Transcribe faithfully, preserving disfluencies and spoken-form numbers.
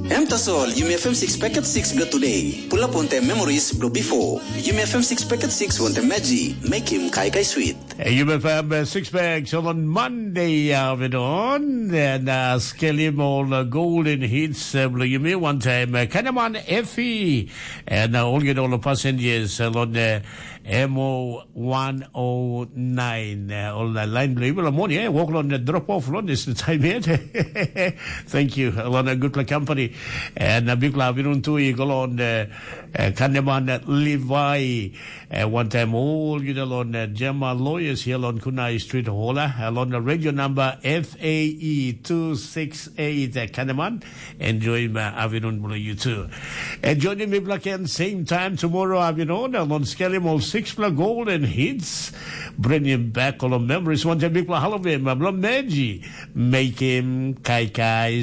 Em tasol, Yumi F M six paket six bilong today. Pull up wantaim memories bilong before. Yumi F M six paket six wantaim Maggi, make him kai kai sweet. Hey, Yumi F M uh, six pack, so on Monday, uh, we don't, and uh, skelim all uh, golden hits uh, bilong Yumi one time. Uh, Kanaman Effie, and uh, all get all the passengers uh, on uh, M O one oh nine. Uh, all the line bilong Yumi, morning, eh? Walk on the drop off, on this time yet. Thank you, Alana, good luck company. And uh, big love, you know, to you go on uh, uh, Kanaman Levi. Uh, one time all you know on uh, Gemma Lawyers here on Kunai Street Hola, uh, on the radio number F A E two six eight uh, Kanaman. Enjoy my afternoon below you too. And joining me black and same time tomorrow afternoon, uh, on Skelly Mall six Black Golden Hits. Bring him back all the memories. One time big Halloween, my blood Meji. Make him kai kai